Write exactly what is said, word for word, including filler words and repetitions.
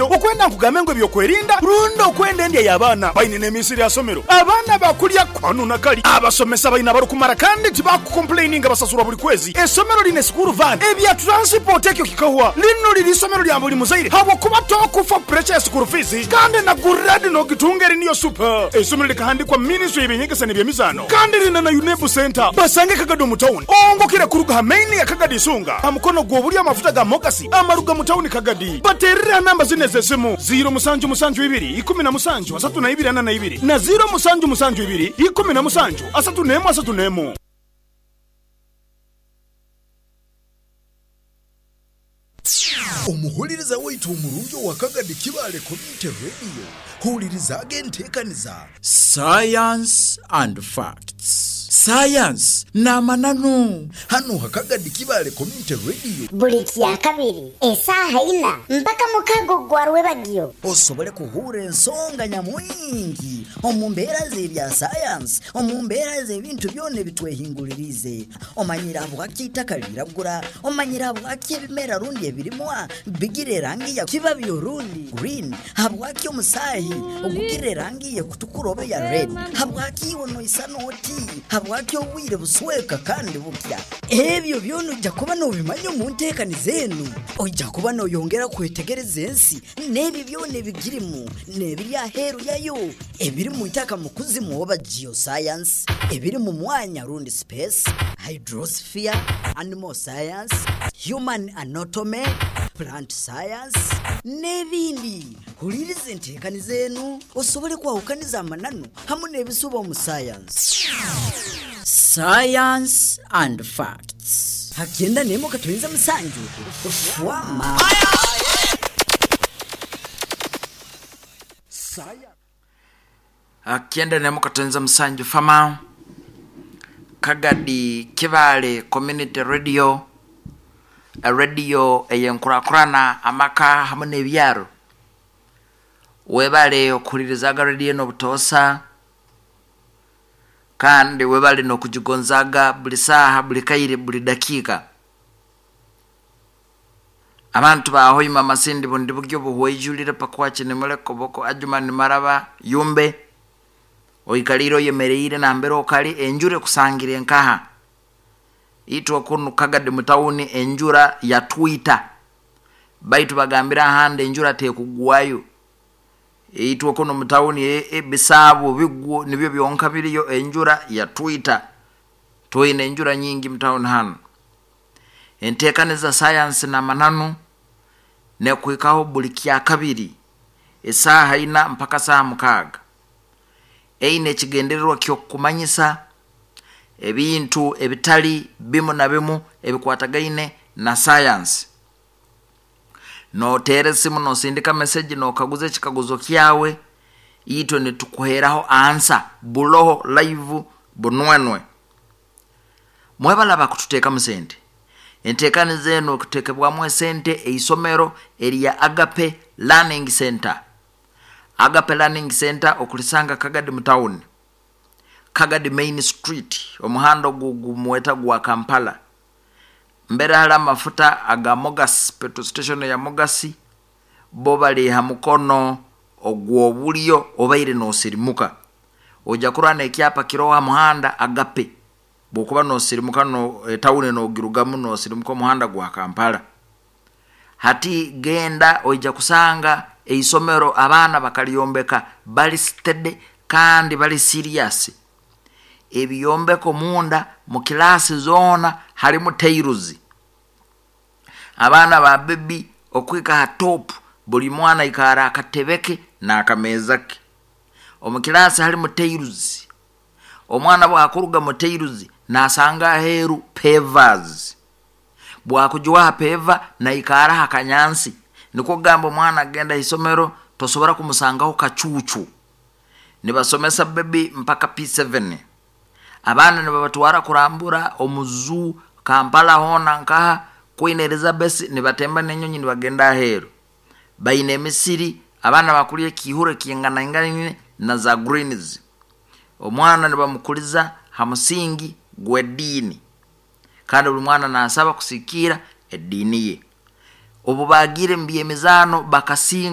Okwenda nkugambe ngu ebyokwerinda rundi okwenda endya y'abaana baine n'emisiri ya somero abaana bakulya kwanu na kali abasomesa baina barikumara kandi tibakukomplaininga basasurwa buli kwezi. Essomero lina school van ebya transport ekyo kikahwa. Lino liri isomero lya buli muzaire habwokuba tokufa pressure ya school fees kandi na grade nogitunga eri niyo super. Essomero likahandikwa ministry y'ebyenyegesa n'ebyemizaano kandi lina na UNEB center. Basange Kagadi omu town ongokere kuruga ha main ya Kagadi Isunga ha mukono gw'obulyo amafuta ga Mogasi amaruga mu town Kagadi. Baterere namba zino ez'esimu ziro musanju musanju ibiri ikumi na musanju asatu na ibiri ana na ibiri na ziro musanju musanju ibiri ikumi na musanju asatu n'emu asatu n'emu. Omuhuliriza waitu omurungi owa Kagadi Kibaale Community Radio, hulirizaaga enteekaniza Science and Facts. Science n'amananu. Hano ha Kagadi Kibaale Community Radio. Buli kya kabiri esaaha ina mpaka mukago gwa rwebagyo. Osobole kuhura ensonga nyamwingi omu mbeera z'ebya sayansi, omu mbeera z'ebintu byona ebitwehingulirize. Omanyire habwaki itaka liragura, omanyire habwaki ebimera rundi ebirimwa bigira erangi ya kibabi orundi green, habwaki omusaahi ogugira erangi yekutukura oba ya red, habwaki iwe noisana oti, habwaki obwire busweka kandi bukya. Ebyo byona ojja kuba nobimanya omu nteekaniza enu. Ojja kuba noyongera kwetegereza ensi n'ebyo byona ebigirimu n'ebiri aheeru yayo, ebiri mu itaka mu kuzimu oba geoscience, ebiri mu mwanya rundi space, hydrosphere, animal science, human anatomy, plant science n'ebindi. Huliriza enteekaniza enu osobole kwahukaniza amananu hamu n'ebisuba omu science. Science and Facts. Hakyenda nemo katuyinza musanju fwama. Akienda nemo katonza musanju fama. Kagadi Kibaale Community Radio, a radio eyenkurakurana amaka hamwe n'ebyaro. Webale okuhulirizaga radio eno obutoosa, kandi webale n'okugigonzaga buli saaha, buli kaire, buli dakiika. Abantu bahoima amasindi bundi bugyo buhweijulire pakwaki nimuleko boko Ajumani Maraba Yumbe oikalire oyemereire nambere okali enjura ekusangire nkaha. Itwe kunu Kagadi mu tawuni enjura yatwita, baitu bagambira ahandi enjura tekugwayo. Itwe kuno mu tawuni ebisaabo bigwo nibyo byonka biriyo, enjura yatwita. Twine enjura nyingi mu tawuni hano. Enteekaniza sayansi n'amananu nekuhikaho buli kya kabiri esaaha ina mpaka saaha mukaaga. Eine ekigendererwa ky'okukumanyisa ebintu ebitali bimu na bimu ebikwatagaine na sayansi. Noteera esimu, nosindika message, nokaguza ekikaguzo kyawe, itwe nitukuheraho ansa buloho live bunwenwe. Mwebalaba kututeekamu sente. Enteekaniza eno ekuteekebwamu esente eisomero erya Agape Learning Center. Agape Learning Center okulisanga Kagadi mu town, Kagadi Main Street, omuhanda ogu gumweta gwa Kampala. Mbere hali amafuta aga Mogas, petrol station ya Mogasi, bo bali ha mukono ogw'obulyo obaire nosirimuka. Ojja kurwana ekyapa kiroho ha muhanda Agape. Bwokuba nosirimuka no etawuni nogirugamu nosirimuka omuhanda gwa Kampala. Hati genda oija kusanga eisomero abaana bakalyombeka bali steady kandi bali serious. Ebyombeko munda mu kilasi zoona halimu tairuzi. Abaana ba baby okwika ha top buli mwana ikara akatebeke n'akameeza ke. Omu kilasi halimu tairuzi. Omwana bwakuruga mu tairuzi nasanga aheeru pavers. Bwakujuwaha peva naikara ha kanyansi. Nikwo kugamba omwana agenda isomero tosobora kumusangaho kacuucu. Nibasomesa baby mpaka P seven. Abaana nibabatwara kurambura omu zoo Kampala hoona nkaha Queen Elizabeth, nibatemba n'enyonyi nibagenda aheeru. Baine emisiri, abaana bakulya ekihuro ekinganaingaine na za greens. Omwana nibamukuliza ha musingi gw'eddiini, kandi buli mwana nasaba kusikiira eddiini ye. Obu bagiire mu by'emizaano bakasinga.